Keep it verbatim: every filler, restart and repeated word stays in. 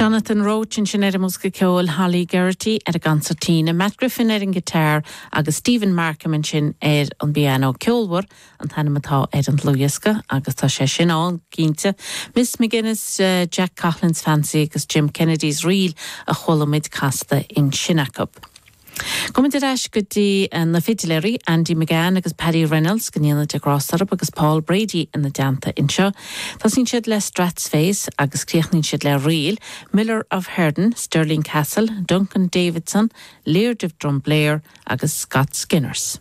Jonathan Roche ansin ar an mbosca ceoil Holly Geraghty ar an gconsairtín, Matt Griffin ar an guitar agus Stephen Markham ansin ar an bpianó ceolmhar an t-ainm atá ar an dlúthdhiosca agus tá sé sin ann cinnte. Miss McGuinness, uh, Jack Coughlan's Fancy agus Jim Kennedy's Reel a chuala muid casta ansin acu. Gabhfaimid ar ais go dtí eh, na fidiléirí Andy McGann agus Paddy Reynolds go ndéana Dia grásta orthu agus Paul Brady ina dteannta anseo. Tosaíonn siad le Strathspeys agus críochnaíonn siad le Reel, Miller of Herden, Stirling Castle, Duncan Davidson, Laird of Drumblair agus Scott Skinners.